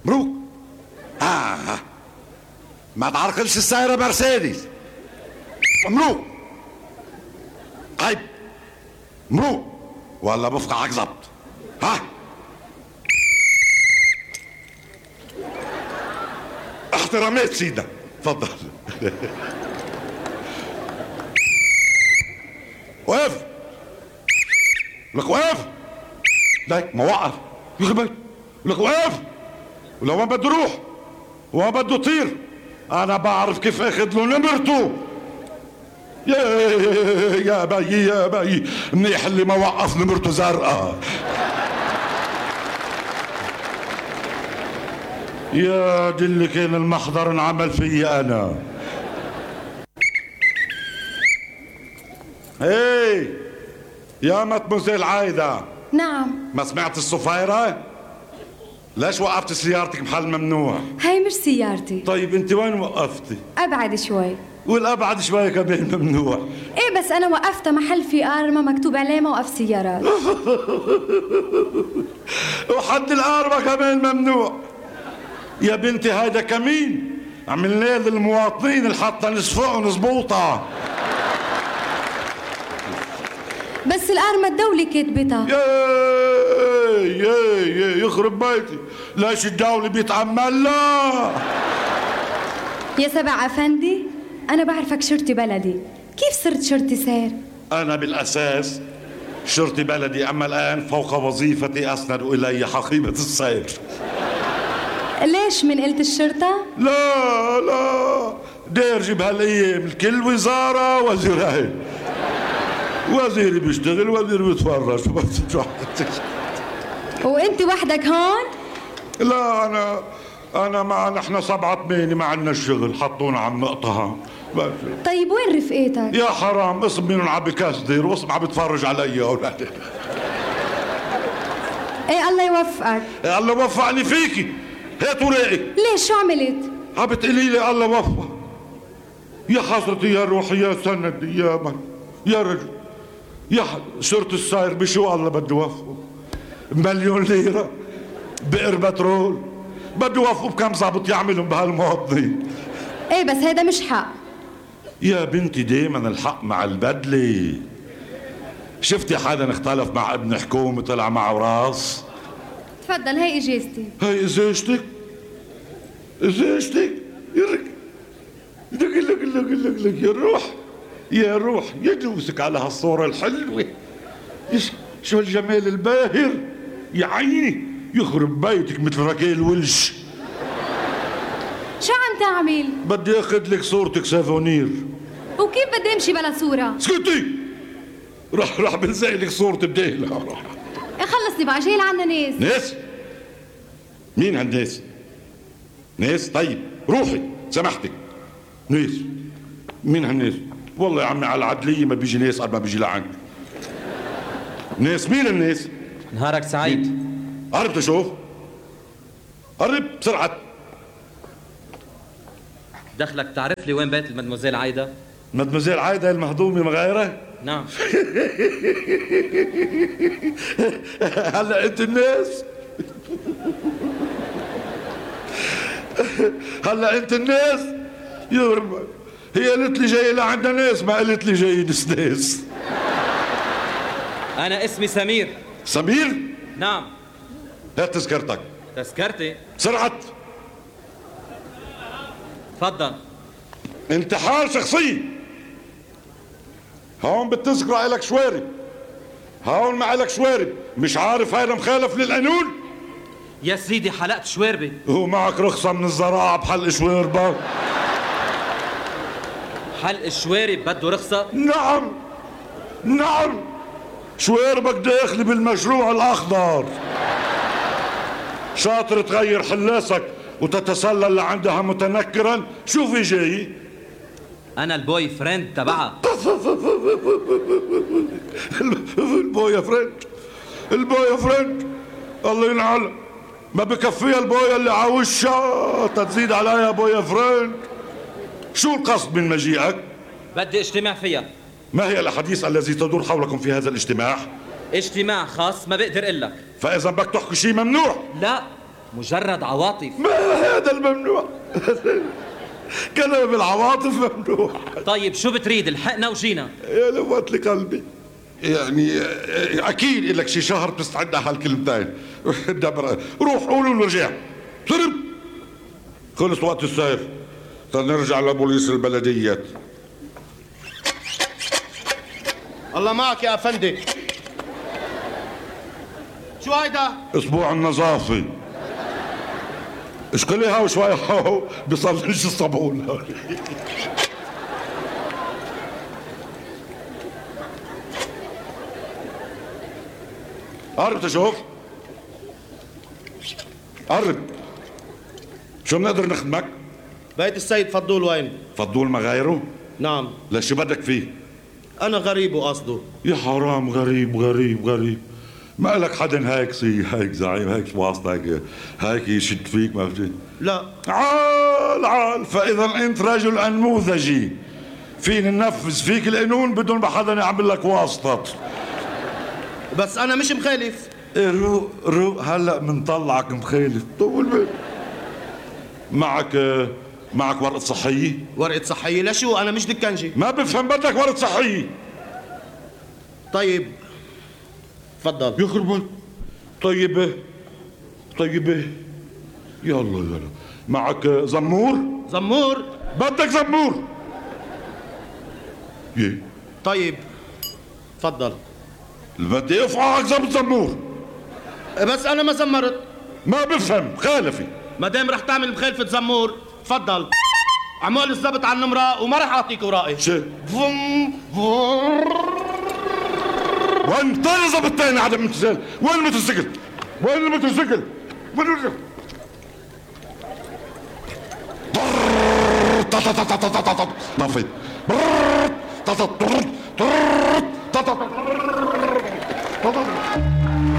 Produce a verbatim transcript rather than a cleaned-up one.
مبروك. آه, آه. ما تعرقلش السيارة مرسيدس. مبروك. طيب مبروك ولا بفقعك ظبط. ها احترامات سيدنا، تفضل. وقف لك، وقف لك، ما وقف يخرب لك، وقف. ولو ما بده يروح وما بده يطير انا بعرف كيف اخذ له نمرته. يا يا بيي يا بيي، منيح اللي ما وقف نمرته زرقاء. يا دي اللي كان المحضر انعمل فيي انا. هي يا مدموزيل عايدة. نعم. ما سمعت الصفايرة؟ ليش وقفت سيارتك محل ممنوع؟ هاي مش سيارتي. طيب انت وين وقفتي؟ ابعد شوي. والابعد شوي كمان ممنوع. ايه بس انا وقفت محل في ارما مكتوب عليه موقف سيارات. وحد الارما كمان ممنوع. يا بنتي هيدا كمين عملناه للمواطنين اللي حتى نصفقهم زبوطة. بس الارما الدولة كاتبتها. ياي ياي ياي يخرب بيتي، ليش الدولة بيتعمل لا؟ يا سبع افندي، انا بعرفك شرطي بلدي، كيف صرت شرطي سير؟ انا بالاساس شرطي بلدي، اما الان فوق وظيفتي اسند الي حقيبة السير. ليش من قلت الشرطة؟ لا لا دارجي بهالايام الكل وزارة وزيرين، وزيري بيشتغل وزيري بيتفرج. وانت وحدك هون؟ لا انا انا معنا احنا سبعة ثمانية ما عندنا الشغل، حطونا على النقطة. طيب وين رفقاتك؟ يا حرام اسم منهم عم بكسدر واسم عم بتفرج علي يا اولاد. ايه الله يوفقك. إيه الله وفقني فيكي. هات وراقك. ليش شو عملت؟ عم بتقولي لي الله وفق. يا حضرتي يا روحي يا سندي يا من يا رجل يا شرطي الساير بشو الله بده يوفقه؟ مليون ليرة بئر بترول بده يوفقوا بكم ظابط يعملهم بهالمواطنين. ايه بس هيدا مش حق يا بنتي، دايما الحق مع البدلة. شفتي حدا اختلف مع ابن حكومة طلع معه راس؟ تفضل هي اجازتي. هي ازاجتك ازاجتك يرك لك لك لك لك لك يا روح يا روح يدوسك على هالصورة الحلوة. شو الجمال الباهر يا عيني، يخرب بيتك مثل ركيل ولش. شو عم تعمل؟ بدي اخذ لك صورتك سافونير. وكيف بدي امشي بلا صورة؟ اسكتي، راح راح بلزق لك صورتي بديلها. راح خلصني بقى، جاي لعنا ناس. ناس؟ مين هالناس؟ ناس؟ طيب روحي سامحتك. ناس؟ مين هالناس؟ والله يا عمي على العدلية ما بيجي ناس قبل ما بيجي لعند. ناس؟ مين الناس؟ نهارك سعيد. قرب تشوف، قرب بسرعة. دخلك تعرف لي وين بيت المدموزيل عايدة؟ مدموزيل عايدة المهضومة مغيرة؟ نعم. هلا انت الناس؟ هلا انت الناس؟ يرمى هي قالت لي جاي لعندنا ناس، ما قالت لي جاي ناس. أنا اسمي سمير. سمير؟ نعم. هات تذكرتك. تذكرتي؟ بسرعة. تفضل. انتحال شخصي. هون بالتذكرة إلك شوارب، هون ما إلك شوارب. مش عارف هيدا مخالف للقانون؟ يا سيدي حلقت شواربي. ومعك رخصة من الزراعة بحلق شواربك؟ حلق الشوارب بده رخصة؟ نعم نعم، شواربك داخلي بالمشروع الأخضر. شاطر تغير حلاسك وتتسلل لعندها متنكرا. شو في جاي؟ أنا البوي فريند تبعها. البوي فريند البوي فريند الله ينعل، ما بكفيها البويا اللي عاوشها تزيد عليها بويا فريند. شو القصد من مجيئك؟ بدي اجتماع فيها. ما هي الأحاديث الذي تدور حولكم في هذا الاجتماع؟ اجتماع خاص ما بقدر اقول لك. فإذا بدك تحكي شيء ممنوع. لا مجرد عواطف. ما هذا الممنوع. كلام العواطف ممنوع. طيب شو بتريد؟ الحقنا وجينا. يا لوات لي قلبي. يعني اكيد لك شي شهر تستعد على هالكلمتين. روح قولوا ورجع. سرب. خلص وقت السير. نرجع لبوليس البلديات. الله معك يا افندي. شو هيدا؟ اسبوع النظافة. اشكلي هاو شوي هاو بيصليش الصابون. قرب تشوف. قرب. شو بنقدر نخدمك؟ بيت السيد فضول وين؟ فضول ما غيره؟ نعم. لا شو بدك فيه؟ أنا غريب وقصده. يا حرام غريب غريب غريب. ما لك حدا هيك سي هيك زعيم هيك واسطة هيك هيك يشد فيك ما فهمت؟ لا. عال عال فإذا أنت رجل أنموذجي فيني ننفذ فيك القانون بدون ما حدا يعمل لك واسطة. بس أنا مش مخالف. إيه روق روق هلا بنطلعك مخالف. طول بالك. معك معك ورقة صحية؟ ورقة صحية لشو؟ أنا مش دكنجي. ما بفهم بدك ورقة صحية. طيب تفضل. يخرب بالك. طيبة طيبة يلا يلا. معك زمور؟ زمور؟ بدك زمور. يه طيب تفضل. بدي افعك زبط زمور. بس أنا ما زمرت. ما بفهم خالفي. ما دام رح تعمل مخالفة زمور تفضل. عمول الزبط على النمرة وما رح أعطيك ورائي. شو؟ فم فم وين طير زبط تاني عدم امتثال؟ وين الموتوسيكل؟ وين الموتوسيكل؟ وين الرجل؟ طفت. طفت.